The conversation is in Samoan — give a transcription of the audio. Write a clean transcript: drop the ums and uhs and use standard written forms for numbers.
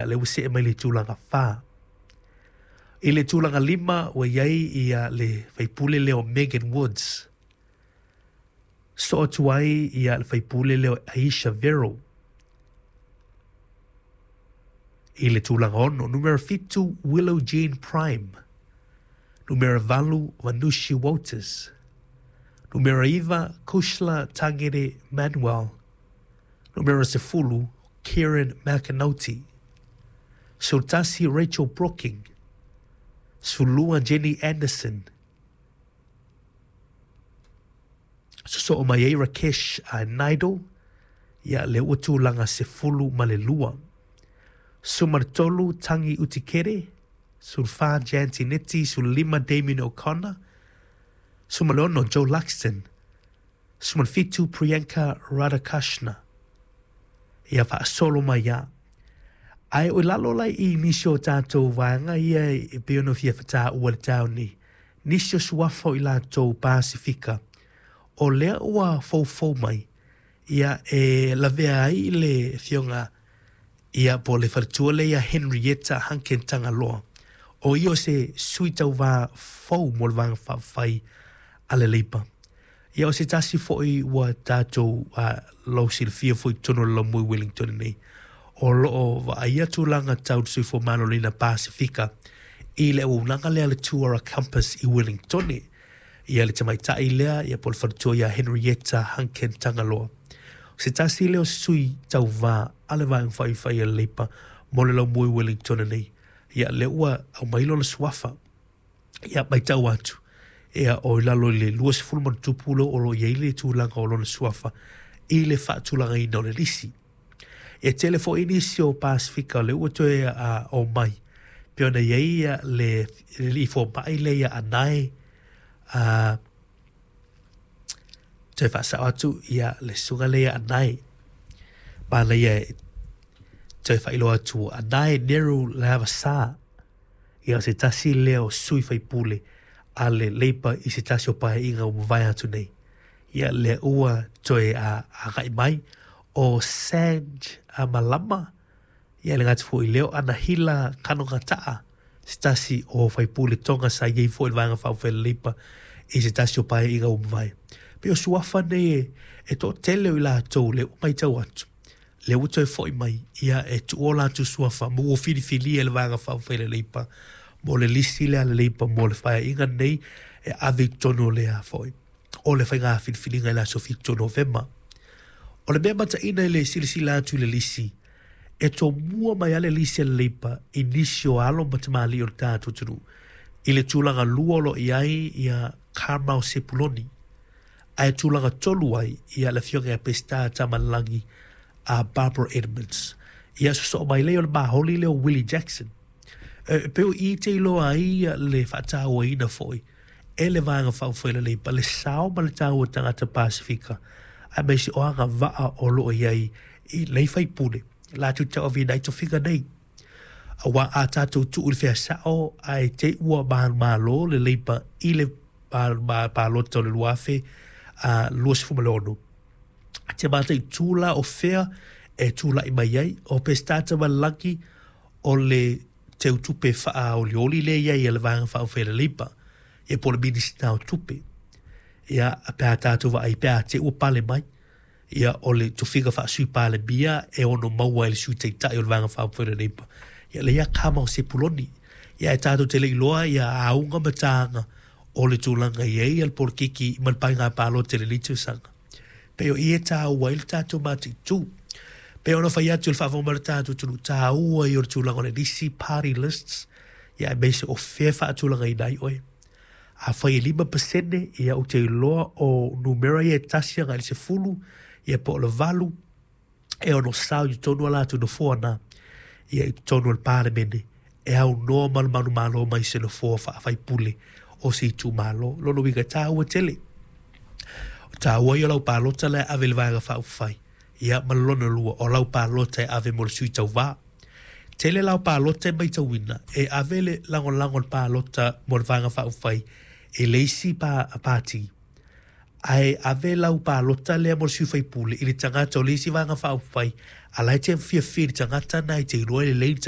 Lea ua see mai le tulaga 4. I le tulaga 5 ua i ai ia le faipule lea o Megan Woods. Soo atu ai ia le faipule lea o Aisha Vero. I le tulaga 6, numera 7 Willow Jean Prime. Numera 8 Vanushi Walters. Numera 9 Kushla Tangere Manuel. Numera 10 Kieran McAnulty. 11 Rachel Brooking. 12 Jenny Anderson. Sosoo mai ai Rakesh Naidu, ia lea ua tulaga 12. 13 Tangi Utikere, 14 Jan Tinetti, 15 Damien O'Connor, 16 Joe Luxton, 17 Priyanka Radhakashna. Ia faasolo mai lava. Ae o lalo la i nisi o tatou vaega ia e pei ona fia fatāua i le taeao nei, nisi o suafa o i latou Pasefika, o lea ua foufou mai, ia e lavea ai le afioga ia po o le faletua lea ia Henrietta Hunkin Tagaloa, o ia o se sui tauvā fou mo le Vaega Faaupufai a le Leipa. Ia o se tasi foi ua tatou lausilafia foi i totonu o le laumua i Wellington nei, o lo o vaaia tulaga tau le soifua maloloina Pasefika i le auaunaga lea a le Tuara Compass i Wellingtone. Ia le tamaitai lea, ia po o le faletua ia Henrietta Hunkin Tagaloa. O se tasi lea o sui tauvā a le Vaega Faaifai a le Leipa mo le laumua i Wellington nei. Ia lea ua aumai lona suafa. Ia, matau atu, ia, o i lalo i le 20 ma ona tupu lea o lo o i ai le tulaga o lona suafa i le faatulagaina o le lisi. E tele foi nisi o Pasefika o lea ua toe omai, pei ona i ai ia le alii fomai lea ia Anae, toe faasao atu ia le susuga lea ia Anae, manaia e toe faailoa atu, Anae Neru Leavasa. Ia o se tasi lea o sui faipule a le Leipa i se tasi o paeaiga ua mavae atu nei. Ia lea ua toe agai mai o Sanj Malama, ia e le gata foi i lea o Anahila Kanogata'a, se tasi o faipule Tonga sa i ai foi i le Vaega Faaupufai a le Leipa i se tasi o paeaiga ua mavae. Pei o suafa nei e toatele o i latou lea ua matau atu, lea ua toe foi mai, ia e tuu o latou suafa ma ua filifilia e le Vaega Faaupufai a le Leipa mo le lisi lea a le Leipa mo le paeaiga lenei e ave i totonu o le a foi o le faiga filifiliga i le aso 7 o Novema. O le mea mataina i le silasila atu i le lisi, e tomua mai lava le lisi a le Leipa i nisi o alo ma tamalii o le tatou atunuu i le tulaga lua o lo o i ai ia Carmel Sepuloni, ae tulaga tolu ai ia le afioga ia Peseta Tamalelagi a Barbara Edmonds. Ia sosoo mai lea o le māholi lea o Willie Jackson. E pei o i te iloa ai le faatauaina foi e le Vaega Faaupufai a le Leipa le sao ma le taua tagata Pasefika aemaise o agavaa o lo o i ai i nei faipule latou te tauaveina ai tofiga nei. Aua a tatou tuu i le fea sao ae te i ua manumalo le Leipa i le palota o le 2026, te mataitu la o fea e tulai mai ai. O Peseta Tamalelagi o le teutupe faaolioli lea i ai a le Vaega Faaupufai a le Leipa, ia po o le Minisita o Tupe. Ia, pe a tatou vaai pe a te i ua pale mai, ia o le tofiga faa-Sui Palemia e ono maua e le Sui Taitai o le Vaega Faaupufai o le Leipa, ia lea ia Kamau Sepuloni. Ia ae tatou te le i iloa ia auga ma taga o le tulaga i ai le polokiki ma le paiga palota i lenei tausaga. Pei o i e tāua ai le tatou mataitu. Pei ona fai atu i le faafofoga mai o le tatou atunuu, tāua ia o le tulaga o le lisi, party lists, ia aemaise o fea e faatulagaina ai oe. Afai e 5%, ia ou te iloa o numera ia e tasi agai i le 10, ia po o le 8, e ono sao i totonu o latou nofoa na, ia i totonu o le Palemene, e aunoa ma le manumalo mai se nofoa faafaipule o se itumalo. Lona uiga e tāua tele. O tāua ia o lau palota la e ave i le Vaega Faaupufai, ia ma le lona lua, o lau palota e ave mo le sui tauvā. Tele la o palota e matauina e ave le lagolago o le palota mo le Vaega Faaupufai i le isi pati, ae ave lau palota lea mo le sui faipule i le tagata o le isi Vaega Faaupufai A la e te fiafia i le tagata lena e te iloa lelei le tagata.